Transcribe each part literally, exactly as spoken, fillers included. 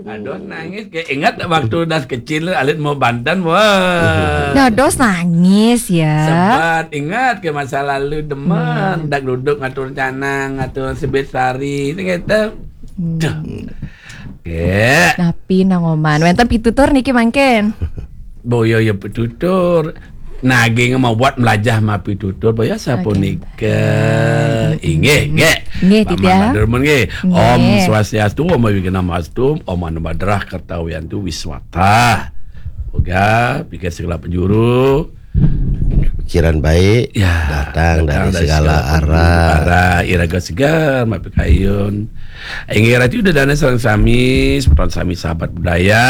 Aduh, nangis ke. Ingat waktu das kecil, alit mau bantan, wah. Dados nangis ya. Sebat, ingat ke masa lalu, demen dak duduk ngatur canang, ngatur sebit sari, itu gitu. Duh. Ke. Napi nang oman? Wenten pitutur niki mangkin. Boyo ya pitutur. Naging mau buat melajah mapi tutur, boyo sapunika. Inggih, nggih. Nggih, Pak Titiang. Mahathir nuwun, nggih. Nggih. Om Swastiastu, Om Awighnamastu, Om Anubhadrah Kartawiyantu Wiswata. Moga pikir segala penjuru Pikiran baik ya datang dari segala penjuru arah. Arah iraga segar, mapi kayun. Inggih ratu ida dana sareng sami, semeton sami sahabat budaya,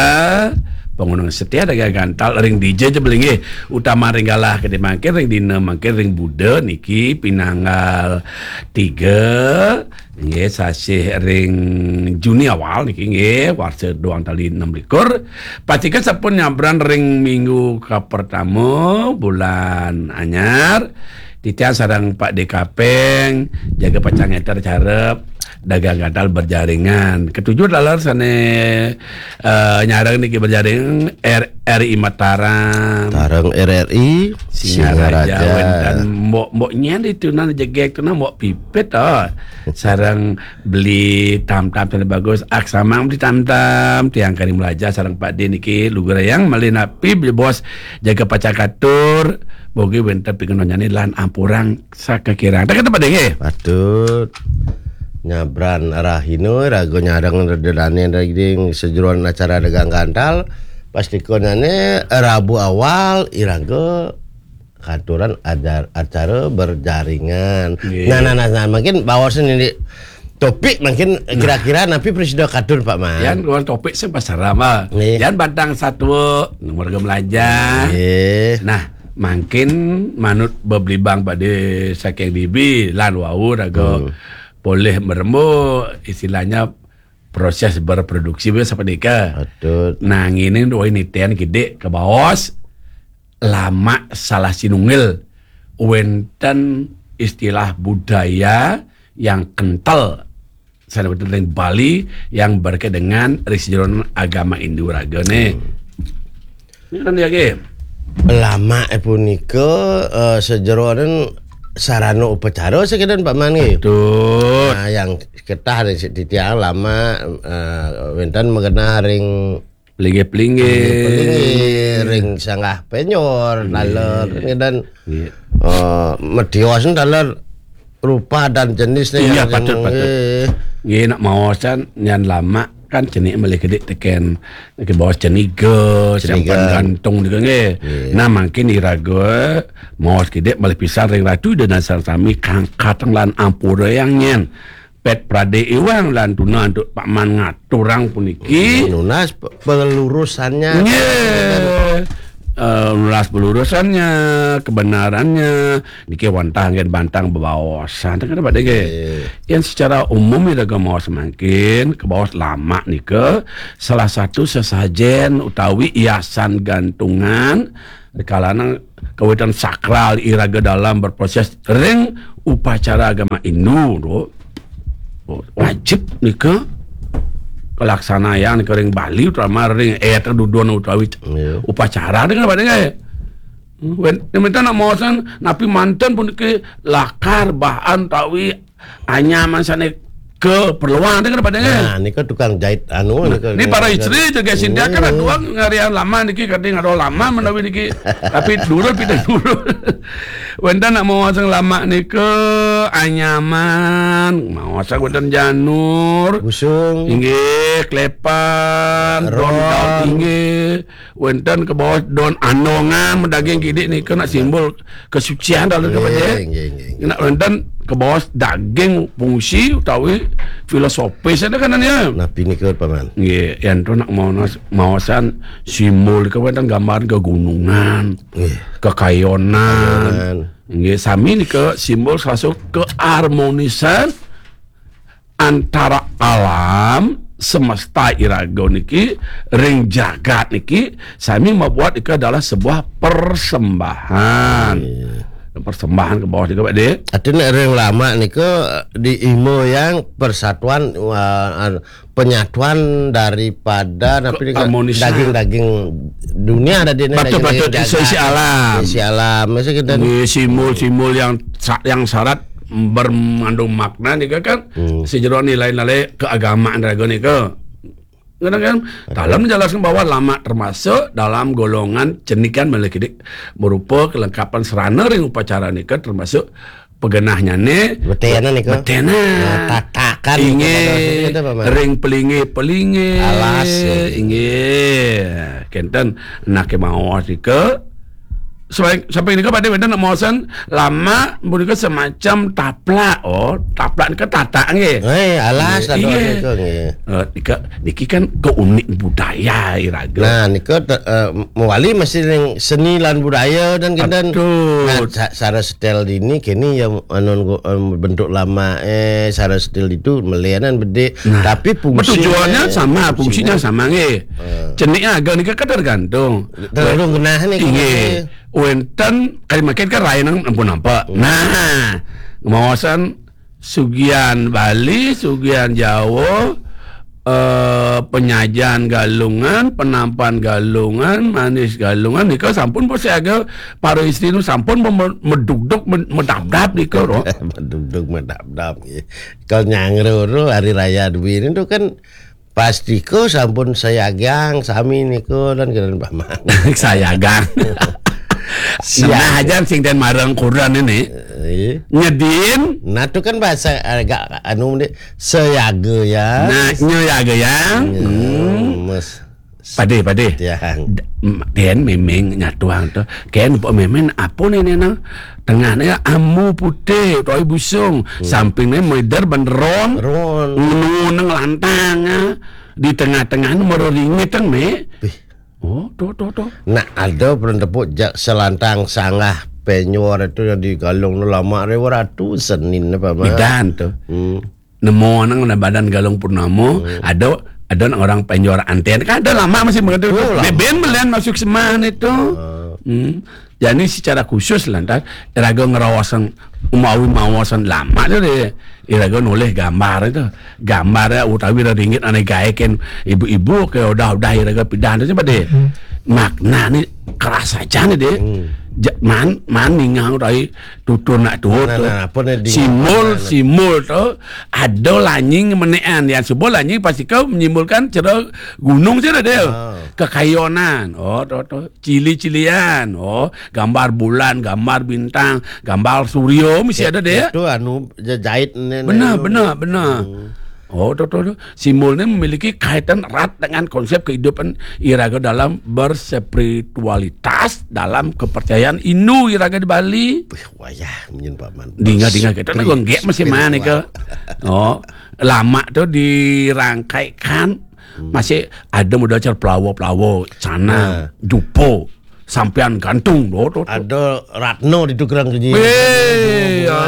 pengunung setia dagang gantal ring D J jebel inggih, utama ring galah gedé mangkin ring dina mangkin ring Buda niki pinanggal tiga, nggih, sasih ring Juni awal niki nggih, warsa duang tali enam likur. Patika sampun nyabran ring minggu kapertama bulan anyar. Titiang sareng Pak D Kapeng, jaga pacang éter carep dagang gantal berjaringan. Ketujuh taler sané eh, nyareng niki berjaring R R I Mataram. Tareng R R I Singaraja, Singaraja. Wénten mbok-mbok nyén itu nan jegek tu nan mbok pipit oh. Sareng beli tam-tam sana bagus. Aksamang beli tam-tam, tiang kari melaja sareng Pak D niki lugrayang malih napi beli bos jaga pacang katur. Bogi wénten pingenonnyane lan ampurang sakakirang. Tak kata Pak D nggih. Patut nyabran rahina raga nyareng dedane daging sejeroan acara dagang gantal. Pastikonane Rabu awal iraga katuran adar, acara berjaringan. Nggih. Nah, nah, nah, nah, mungkin bawasan ini topik mungkin kira-kira napi presida katur Pak Man. Yan keluar topik sing pasara mah. Nggih. Yan batang satwa warga melaja. Nggih. Nah, mangkin manut beblibang pada saking dibi lan wau raga Hmm. boleh meremu istilahnya proses berproduksi wis sapunika. Patut. Nah, ngene dua ini ten gede ke baos lama salah sinunggil wenten istilah budaya yang kental sana wenten ring Bali yang berkait dengan ring sejeroan agama Hindu raga nih. Ini kan dia ke. Lama eh punika eh, sejeroan sarana upacara sekidan Pak Man nggih. Betul. Nah, yang ketah dari si titiang lama eh, wenten mengenah ring Pelinggih-pelinggih. pelinggih, ring sanggah penyor, taler dan Iya. eh, medios taler rupa dan jenis Iya, yang- patut, patut. eh, Nggih, nak maosan nyan lama kan cenik malih gede teken ke baos ceniga, Ceniga. Sampan Gantung juga nggih. Nah, mangkin iraga maos gede malih pisan ring ratu dan sareng sami kang kateng lan ampura yang nyen. Pet prade iwang lan tuna antuk Pak Man ngaturang puniki. Nunas pe- pelurusannya. Nggih. Eh, nunas pelurusannya, kebenarannya, niki wantah nggih bantang bebaosan. Tengah dapat nggih. Yang secara umum iraga maos mangkin, kebaos lama nika salah satu sesajen utawi hiasan gantungan kalana kawitan sakral iraga dalam berproses ring upacara agama Hindu tu. Oh, wajib nika kelaksanayan nika ring Bali utama ring eh duduan utawi Iya. upacara dengan pada nggih. Wen, yang minta nak maosan napi manten pun ke lakar bahan tawi anyaman sana keperluan dengan pada nggih. Nah, nika tukang jahit anu Nah, ini para istri juga sindiakan Hmm. Tuang ngarian lama niki kadang ada lama menawi niki tapi dulu pindah dulu. Wenten nak maosan lama nika anyaman, maosan wenten janur. Busung. Inggih, klepan, don Ron. Daun inggih. Wenten kebaos don andongan medaging kidik nika nak simbol kesucian dalam kepada. Nggih, nggih, nggih. Nak wenten kebaos daging fungsi utawi filosofis ada kan ya. Napi nika Pak Man? Nggih, yang tu nak maosan, maosan simbol ke wenten gambar kegunungan, Nggih. kekayonan. Kekayonan. Nggih, sami nika simbol salah satu keharmonisan antara alam semesta iraga niki ring jagat niki sami membuat nika adalah sebuah persembahan. Iya. persembahan ke bawah nika, Pak De. Artinya ring lama nika diimbau yang persatuan, uh, penyatuan daripada napi nika, harmonisnya, daging-daging dunia tadi ni, patut, daging patut, jagat, isi alam, isi alam. Mesti kita ni simbol-simbol yang sa-, yang syarat bermandung makna nika kan, hmm, sejero nilai-nilai keagamaan raga nika. Kadang kan dalam menjelaskan bahwa lama termasuk dalam golongan cenikan melekidik, berupa kelengkapan serana ring upacara nika termasuk pegenahnyane. Betenan nika. Betenan. Nah, tatakan nika, inggih, pada kita, Paman. Ring pelinggih-pelinggih. Alas, ya. Inggih. Kenten, nak maos nika. Sampai, sampai nika pada wenten nak maosan lama punika semacam taplak. Oh, taplak nika tatak nggih. Eh, alas, inggih, taplak nika nggih. Eh, nika, niki kan keunik budaya iraga. Nah, nika te-, eh, mawali masih ring seni lan budaya dan kenten. Patut. Nah, sa-, sara setel dini kini ya anu, eh, bentuk lama, eh, sara setel itu melenan bedik. Nah, tapi fungsinya, tujuannya sama, fungsinya, fungsinya sama nggih. Eh. Cenik aga nika kan tergantung. Tergantung genah ni. Inggih. Wenten kali makin kan rain ampun nampak. Hmm. Nah, maosan sugian Bali, sugian Jawa, eh, penyajian Galungan, penampan Galungan, manis Galungan nika sampun persiaga para istri nu sampun mem-, medugdug, med-, medabdab nika, ro. Medugdug medabdab, nggih. Kalau nyangro ro hari raya duwi nitu kan pastika sampun sayagang sami nika lan keren Paman. Sayagang. Senah aja sing ten marang kuran ini. Eh. Nyedin. Nah, itu kan bahasa agak anu ni, sayaga ya. Nah, nyayaga ya. Ya, hmm. Mes. Pade, pade. Tiang. D-, m-, den memeng nyatuang tu. Ken pok memen apa ni, ni, nah? Tengah ni ambu putih, toy busung. Hmm. Samping ni medar benderong. Ron. Ngunung lantang, ah. Di tengah-tengah ni mara ringit tang, me. Wih. Oh, tu, tu, tu. Nak ada pernah tepuk jak selantang sanggah penyor itu yang digalung tu lama rewa ratu senin apa, Mak? Bidan tu. Hmm. Nemu nang na badan Galung Purnama, hmm, ada, ada nang orang penjuara anten. Kan ada lama masih begitu. Oh, lama. Beben melian masuk seman itu. Ah. Hmm. Jadi secara khusus lantas iraga ngerawasan umawi mawasan lama tu deh. Iraga nolih gambar itu. Gambar ya utawi ringit ane gaeken ibu-ibu ke udah-udah iraga pidan tu coba deh. Hmm. Makna ni keras aja ni deh. Hmm. Ja-, man, man ningah utawi tutur nak tutur. Nah, tu. Nah, apa ni dingah simbol, mana? Simbol tu ada lanying menekan. Yang simbol lanying pasti kau menyimbolkan cara gunung saja dia. Ah. Kekayonan. Oh, tu, tu. Cili-cilian. Oh, gambar bulan, gambar bintang, gambar surya mesti ada dia. Itu anu jahit ni. Benar, ni, benar, benar. Hmm. Oh, tu, tu, tu. Simbol ni memiliki kaitan erat dengan konsep kehidupan iraga dalam berspiritualitas, dalam kepercayaan Hindu iraga di Bali. Wih, wayah, menyen Paman. Dinga, dinga kita nak gonggek masih mana ke? Oh, lama tu dirangkaikan. Hmm. Masih ada modal cara pelawa-pelawa, sana, nah, jupo, sampean gantung, tu, tu, tu. Ada ratna di tukang kerja. Weh, ya.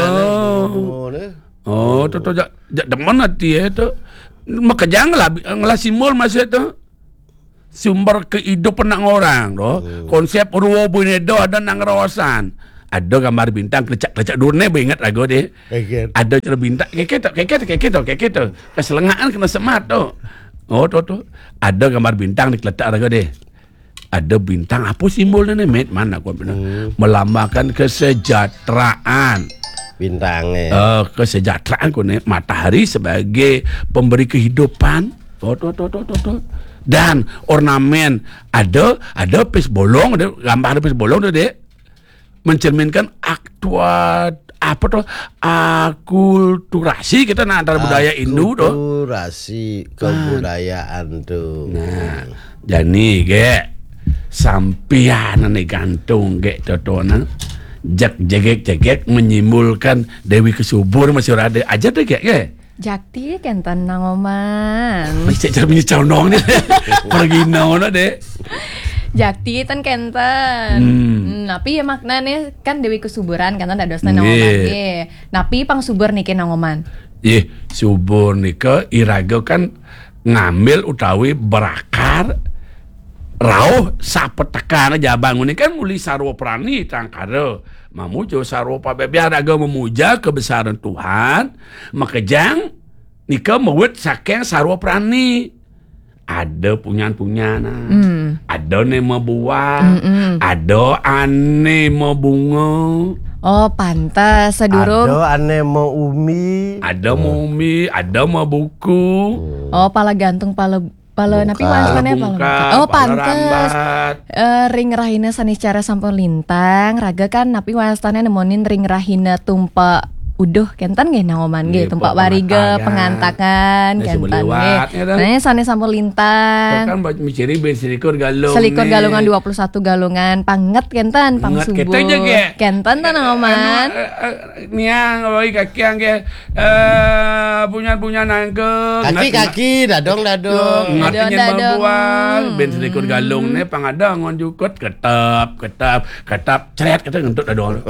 Oh, tu, tu, jak, jak demen hati, eh, tu. Makejang lah, ngelah simbol masih tu. Sumber kehidupan nak orang tu. Hmm. Konsep ruwa bunyi do ada nang rawasan. Ada gambar bintang kelecak-kelecak dur ni, ingat lagu ni. Ingat. Ada cara bintang, kayak gitu, kayak gitu, kayak gitu, kayak gitu. Keselengaan kena semat tu. Oh, tu, tu. Ada gambar bintang dikeletak lagu ni. Ada bintang, apa simbolnya ni, Met? Mana aku benar? Hmm. Melambangkan kesejahteraan. Bintang, eh. Eh, kesejahteraan ku ni, matahari sebagai pemberi kehidupan. Oh, tu, tu, tu, tu, tu. Dan ornamen, ada, ada pis bolong, ada gambar pis bolong tu, Dek. Mencerminkan aktua-, apa tu, akulturasi kita nak antara budaya Hindu tu. Akulturasi kebudayaan tu. Nah, jani ke sampian ni gantung ke tu tu nah. Jak jegek-jegek menyimpulkan Dewi Kesubur masih ada aja tu ke, ke? Jakti kenten nang oman. Masih cara punya condong ni. Pergi no, no, Dek. Jakti ten kenten. Hmm. Hmm, napi ya maknane kan Dewi Kesuburan kenten dadosna nang oman nggih. Napi pang subur niki nang oman? Ih, subur nika iraga kan ngambil utawi berakar rauh sapetekan aja bangun ini kan muli sarwa prani tangkara. Mamuja sarwa pabebiar raga memuja kebesaran Tuhan, makejang nika mewet saking sarwa prani. Ada punyan-punyan, ah. Hmm. Ada ne mabuah, Mm-mm. Ada ane mabunga. Oh, pantes, sedurung. Ada ane mau umi. Ada mau umi, ada mau buku. Hmm. Oh, pala gantung, pala, pala napi wastane, pala bungka, oh, pala pantes. Rambat. Eh, ring rahina saniscara sampun lintang, raga kan napi wastane nemonin ring rahina tumpak uduh, kenten nggih, Nang Oman nggih, nggih, tumpak wariga, pengantakan, pengantakan, kenten nggih. Nah, sane sampun lintang. Kan miciri ben selikur galung. Selikur nih. Galungan, dua puluh satu galungan, panget kenten, pang subuh. Kenten, kenten, Nang Oman. Anu, eh, eh, niang, oi, kakiang nggih. Eh, punyan-punyan nangke. Kaki-kaki, dadong-dadong. Dadong-dadong. Ngat nyen mabuang, ben selikur galung nih, pang ada ngon jukut, ketep, ketep, ketep, cret, ketep, ngentut dadong.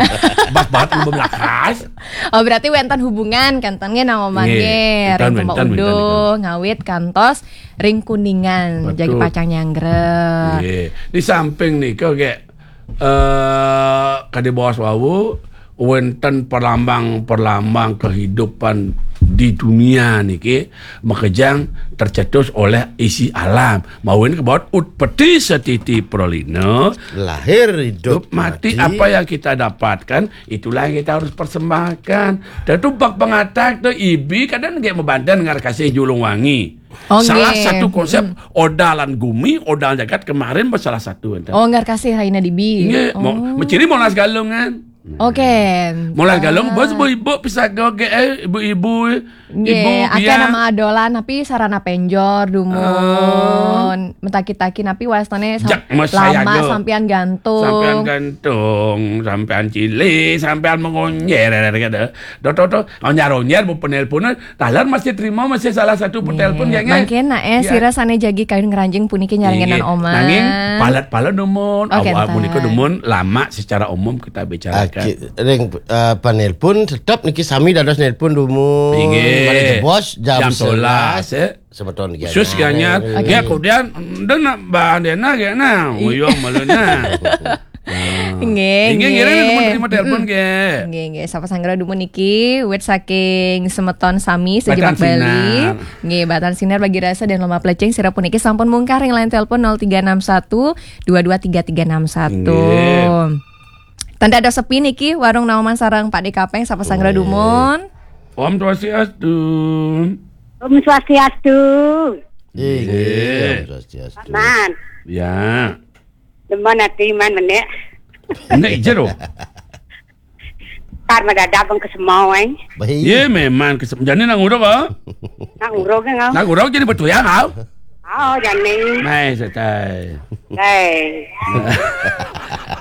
Bas banget, belum lakas. Oh, berarti wenten hubungan, kenten nggih, Nang Oman nggih. Ring tempat uduh, ngawit kantos ring Kuningan, jagi pacang nyanggra. Nggih. Di samping nika, nggih, eh, kadi baos wau, wenten perlambang-perlambang kehidupan di dunia niki makejang tercetus oleh isi alam. Mawin kebaot utpeti setiti pralina, lahir, hidup, mati, apa yang kita dapatkan, itulah yang kita harus persembahkan. Dan tu bak pengatak tu ibi kadang nggih mabanten ngarkasih Julung Wangi. Oh, salah satu konsep odalan gumi, odalan jagat kemarin salah satu enten. Oh, ngarkasih rahina dibi. Nggih, mau menciri molas galungan. Oke. Molas galung, bos, ibu-ibu, pisaga, eh, ibu-ibu, nggih, ibu, akeh nama adolan, tapi sarana penjor, dumun. Metaki-taki, tapi wastane lama sampean gantung. Sampean gantung, sampean cili, sampean mengonyer, kata. Do, do, do, onyer-onyer, bu penelpon, taler masih terima, masih salah satu petelpon, nggih, ya, nggih? Mangkin, nah, eh, sira sane jagi kayun ngranjing puniki nyarengin Nang Oman. Nanging, palet-palet dumun, awal punika dumun, lama secara umum kita bicarakan. Aki, ring, eh, penelpon, tetap niki sami dados nelpon dumun. Nggih. Malih jebos, jam sebelas, ya. Semeton nggih. Khusus anyar. Nggih, kemudian, ndak nak bahan dena, nggih, nah, nguyong malu, nah. Nggih, nggih, nggih, nggih. Nggih, nggih, sapa sanggra dumun niki, wit saking semeton sami segenap Bali. Batan Sinar. Nggih, Batan Sinar bagi rasa dan lomba plecing sira puniki sampun mungkar ring line telepon nol tiga enam satu dua dua tiga tiga enam satu. Nggih. Tanda ada sepi niki, warung Nang Oman sareng Pak De Kapeng, sapa sanggra dumun. Om Swastiastu. Om Swastiastu. Nggih, Om Swastiastu. Man. Ya. Demen ati man menek. Menek jero. Tar mendadak pun kesemau, eh. Baik. Ye, memang kesem-, jane nang uruk, ah? Nang uruk, nggih, nggih. Nang uruk jadi betul ya, kau? Oh, jane. Mai, setai. Hei.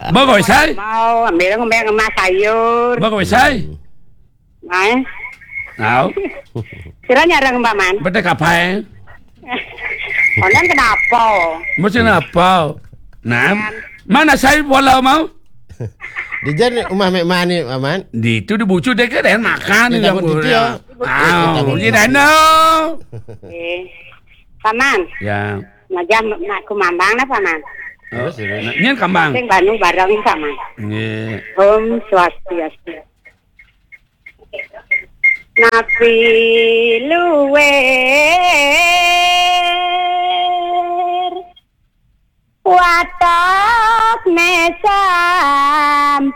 Bagus, sai? Mau ambil ngombe ngemas sayur. Bagus, sai? Mai. Au. Sira nyarang Mbak Man. Betek apa, eh? Konon kenapa? Mesti napa? Nah, mana saya bola mau? Di jan rumah Mek Mani, Paman. Di itu di bucu deh, kan makan di dapur dia. Au, di dana. Eh, Paman. Ya. Ngajak nak ku mambang nah, Paman. Oh, terus, terus. Nah, nyen kambang. Sing banu bareng, Paman. Nggih. Om Swastiastu. Napi luwir watok ne sampun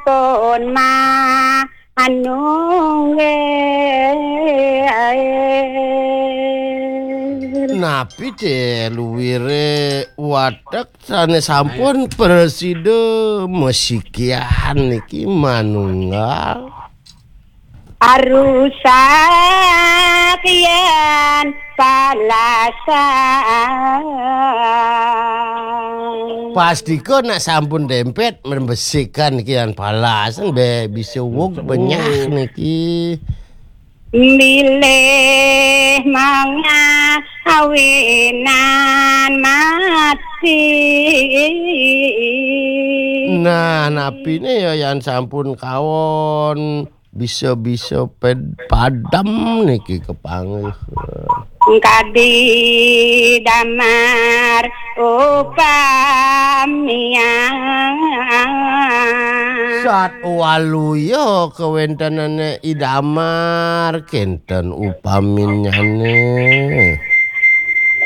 manungge. Napi te luwire watek sane sampun prasida masikian niki manunggal? Arusak yen palasan. Pastika nak sampun dempet, mrembesikan niki lan palasan, be bisa wuk benyah niki. Bilih mangawinan mati. Nah, napine ya yan sampun kawon bisa-bisa ped-, padem niki kepanggih. Kadi damar Upamian. Sat waluya kawéntenane idamar kénten upaminyane.